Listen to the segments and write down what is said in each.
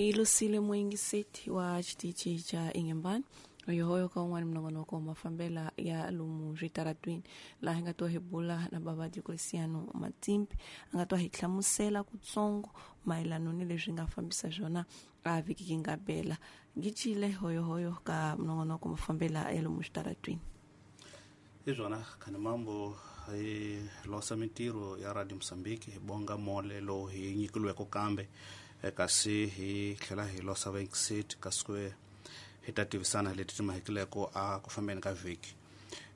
Lusile Muyingiseti wa xitichi xa Inhambane hoyohoyo ka un'wana minongonoko wa mafambela ya lomu switaratwini laha hi nga twa hi bula na bava Diocleciano Matsimbi a nga twa hi hlamusela kutsongo mayelano ni leswi nga fambisa swona a vhiki yi nga bela ngicile hoyohoyo ka minongonoko mafambela ya lomu switaratwini. Hi swona Khanimambo hi losa mintirho ya Radio Mozambique hi bonga mole lowu hi nyikiliweke kambe kasi hi tlhela hi losa vayingiseti kasi ku hi ta tivisana leti ti mahekileko a ku fambeni ka vhiki.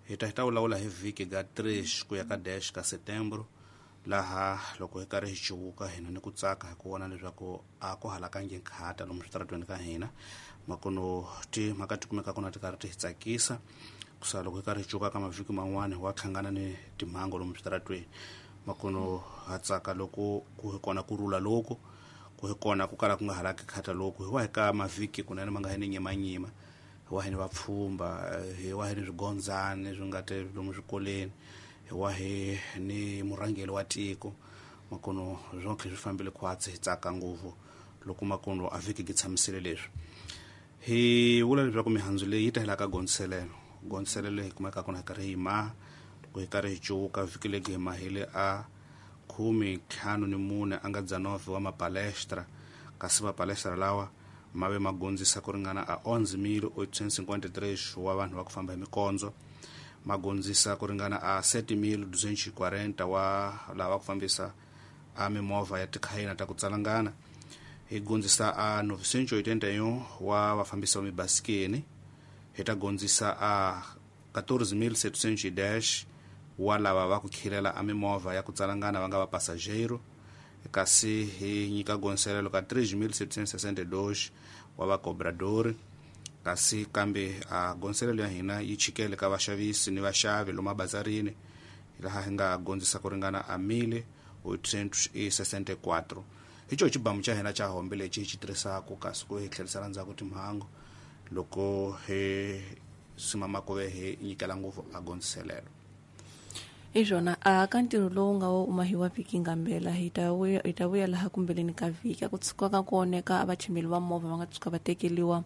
Hi ta vulavula hi vhiki ga 3 ku ya ka dash ka Setembro laha loko hi karhi hi cuvuka hina ni ku tsaka hi ku vona leswaku a ku halakangi nkhata lomu switaratweni ka hina makono timhaka ti kumeka kona ti karhi ti hi tsakisa kusa loko hi karhi hi cuka ka mavhiki man'wani wa hlangana ni timhangu lomu switaratweni makono ha tsaka loko ku hi kona ku rhula loko ku hi kona ku kala ku nga halaki khata loko hi wa hi ka mavhiki kunene ma nga hi ni nyimanyima hi wa hi ni vapfhumba hi wa hi ni swigondzani swi nga te lomu swikolweni hi wa hi ni murhangeri wa tiko makono swonke swi fambile khwatsi hi tsaka ngopfu loko makono a vhiki ki tshamisile leswi hi vula leswaku mihandzu leyi yi ta hela ka gondziselelo gondziselelo hi kumeka kona hi karhi hi maha loko hi karhi hi cuvuka vhiki legi hi mahile a 54 a nga 19 wa mapalestra kasi mapalestra lawa ma ve ma gondzisa ku ringana a 11.853 wa vanhu va ku famba hi mikondzo ma gondzisa ku ringana a 7.240 wa lava ku fambisa a mimovha ya tikhayina ta ku tsalangana hi gondzisa a 981 wa vafambisi va mibasikeni hi ta gondzisa a 14.710 wa lava va ku khilela a mimovha ya ku tsalangana va nga va passageiro kasi hi nyika gondziselelo ka 3.762 wa vacobradori kasi kambe a gondziselelo ya hina yi chikele ka vaxavisi ni vaxavi lomu abazarini laha hi nga gondzisa ku ringana a 1.864 hi xo xibamu xa hina xa hombe lexi hi xi tirhisaka kasi ku hi tlherisela ndzhaku timhangu loko hi simama ku ve hi nyikela ngopfu a gondziselelo. Hi swona a ka ntirho lowu nga wo mahiwa vhiki ngambela hi ta vuya laha kumbeleni ka vhiki a ku tshuka ka ku oneka a vachimeli va movha va nga tshuka va tekeliwa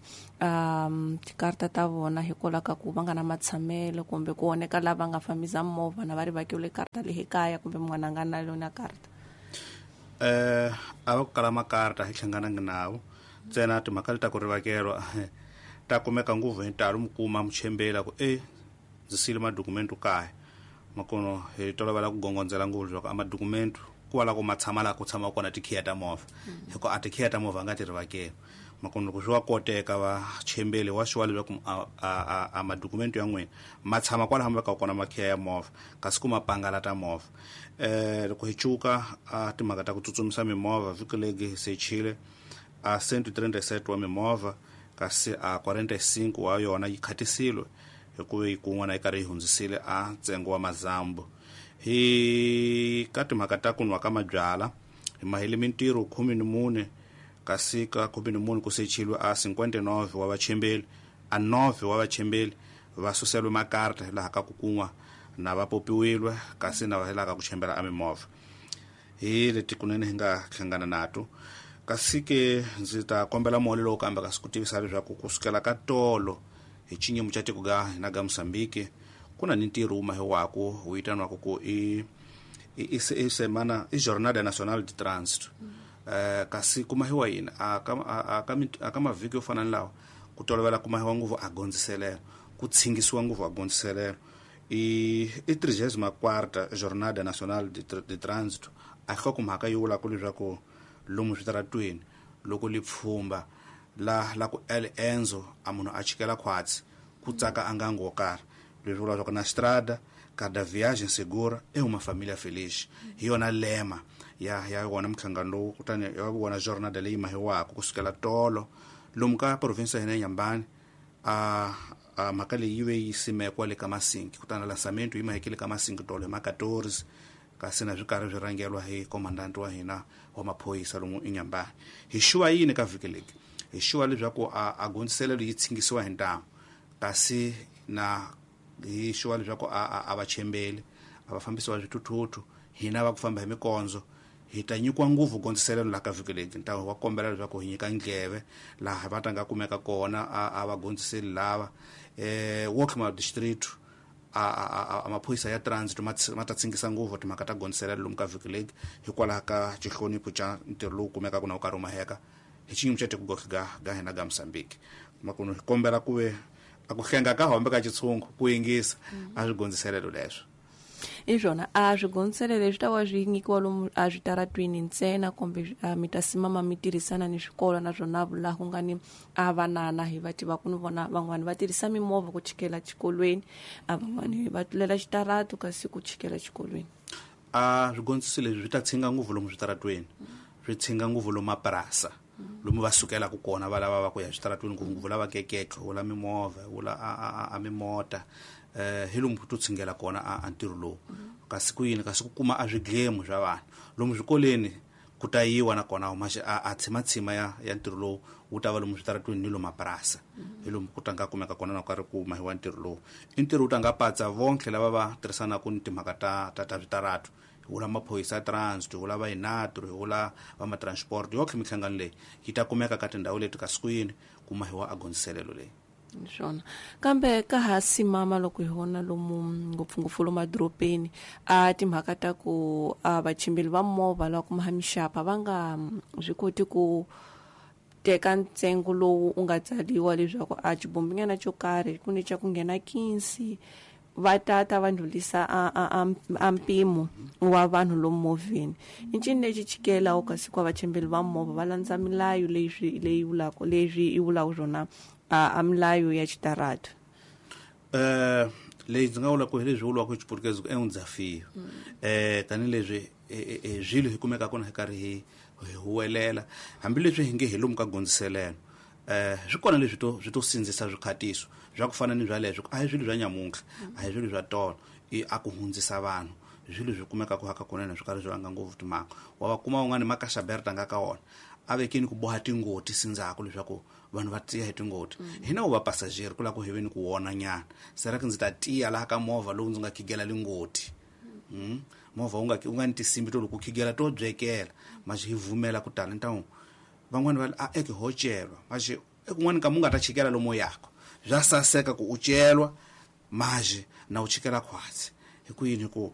tikarta ta vona hikwalaho ka ku va nga na matshamelo kumbe ku oneka lava nga fambisa movha na va ri vakiwile karta leyi kaya kumbe mun'wana a nga na yona karta. A va ku kala makarta hi hlanganangi nawo ntsena timhaka leti ta ku rivakelwa ta kumeka ngopfu hi ntalo mi kuma muchembeli ku ndzi siyile madokumento kaya makono hi tolovela ku gongondzela ngopfu leswaku a madokumento ku wa la ku ma tshama laha ku tshama kona tikhiya ta movha hikuva a tikhiya ta movha a nga ti rivakeli makono loko swi wa koteka vachembeli wa swi wa leswaku a madokumento ya n'wina ma tshama kwalaho ma vekaka kona makhiya ya movha kasi ku ma pangala ta movha. Loko hi cuka a timhaka ta ku tsutsumisa mimovha vhiki legi hi sechile a 137 wa mimovha kasi a 45 wa yona yi khatisile hikuva yi kun'wana yi karhi yi hundzisile a ntsengo wa mazambu. Hi ka timhaka ta ku nwa ka mabyala hi mahile mintirho 14 kasi ka 14 ku sechilwe a 59 wa vachembeli a 9 wa vachembeli va suselwe makarta laha ka ku kun'wa na va popiwilwe kasi na va laha ka ku chembela a mimovha. Hi leti kunene hi nga hlangana nato kasi ke ndzi ta kombela mole lowu kambe kasi ku tivisa leswaku kusukela ka tolo hi xinyimo xa tiko ga hina ga Mozambique ku na ni ntirho wu mahiwaka wu vitaniwaka ku i semana i Jornada Nacional de Trânsito. Kasi ku mahiwa yini a ka mavhiki yo fana ni lawa ku tolovela ku mahiwa ngopfu a gondziselelo ku tshingisiwa ngopfu a gondziselelo i 34ª Jornada Nacional de Trânsito a nhlokomhaka yi vulaka leswaku lomu switaratweni loko li pfhumba la ku el enzo a munhu a chikela khwatsi ku tsaka a ngango wo karhi leswi vula leswaku na strada cada viagem segura é uma família feliz hi yona lema ya wona mhlangano lowu kutani ya wona jornada leyi mahiwaka kusukela tolo lomu ka province ya hina ya Inhambane a mhaka leyi yi ve yi simekwa le ka Masinki kutani lansamento yi mahekile ka Masinki tolo hi ma 14 kasi na swi karhi swi rhangelwa hi komandanti wa hina wa maphorisa lomu Inhambane. Hi xuwa yini ka vhiki leki hi xuwa leswaku a gondziselelo yi tshingisiwa hi ntamu kasi na hi xuwa leswaku a va chembeli a va fambisiwa swithuthuthu hina va ku famba hi mikondzo Hi ta nyikiwa ngopfu gondziselelo laha ka vhiki leti ntawu wa kombela leswaku hi nyika ndleve laha va ta nga kumeka kona a va gondziseli lava Walkmar district a maphorisa ya transit ma ta tsingisa ngopfu timhaka ta gondziselelo lomu ka vhiki leti hikwalaho ka xihlonipho xa ntirho lowu kumekaka na wu karhi wu maheka hi xiyimo xa tiko ga hina ga Mozambique. Makuno hi kombela ku ve a ku hlenga ka hombe ka xitshungu ku yingisa a swi gondziselelo leswo. I swona a swigondziselelo leswi ta va swi nyikiwa lomu a switaratwini ntsena kumbe mi ta simama mi tirhisana ni swikolo naswona laha ku nga ni a vanana hi va tiva ku ni vona van'wani va tirhisa mimovha ku chikela xikolweni, a van'wani va tlulela xitaratu kasi ku chikela xikolweni. A swigondziso leswi swi ta tshinga ngopfu lomu switaratweni, swi tshinga ngopfu lomu mapurasa lomu va sukelaka kona va lava va ku ya switaratweni, ngopfungopfu lava keketlo wula mimovha wula a mimota hi lomu to tshingela kona a ntirho lowu. Kasi ku yini kasi ku kuma a swidlemu swa vanhu lomu swikolweni ku ta yiwa nakona maxi a tshimatshima ya ntirho lowu wu ta va lomu switaratweni ni lomu mapurasa hi lomu ku ta nga kumeka kona na karhi ku mahiwa ntirho lowu. I ntirho wu ta nga patsa vonke lava va tirhisanaka ni timhaka ta switaratu, hi vula maphorisa ya transit, hi vula va inatro, hi vula va ma-transport yonkhe minhlangano leyi yi ta kumeka ka tindhawu leti kasi ku yini ku mahiwa a gondziselelo leyi. Swona kambe ka ha simama loko hi vona lomu ngopfungopfu lomu madorobeni a timhaka ta ku a vachimbeli va movha lava kuma mixapa va nga swi koti ku teka ntsengo lowu u nga tsariwa leswaku a xibombinyana xo karhi ku ni xa ku nghena 15 va tata va ndlulisa a mpimo wa vanhu lomu movheni. I ncini lexi chikelaku kasi ku vachimbeli va movha va landza milayo leyi vulaka leswi yi vulaka swona a milayo ya xitaratu? Leyi ndzi nga vula ku hi leswi vuriwaka hi Xiputukezi ku é um desafio. Tanihileswi swilo hi kumeka kona hi karhi hi huwelela hambileswi hi nge hi lomu ka gondziselelo, swi kona leswi to swi to sindzisa swikhatiso swa ku fana ni swa leswo. A hi swilo swa nyamuntlha, a hi swilo swa tolo, i a ku hundzisa vanhu swilo swi kumeka ku haka kunene swi karhi swi vanga ngopfu timhaka. Wa va kuma un'wana makaxaberta nga ka wona a vekeni ku boha tingoti sindzaku leswaku vanhu va tiya hi tingoti. Hina wu va passager ku lava ku hi ve ni ku wona nyana sera ku ndzi ta tiya laha ka movha lowu ndzi nga khigela lingoti. Movha wu nga ni tinsimbi to loko u khigela to byekela maxi hi vumela ku tala ntawu van'wani va a eke ho celwa maxi ekun'wani ka mu nga ta chikela lomu yako bya saseka ku u celwa maxi na u chikela khwatsi hi ku yini ku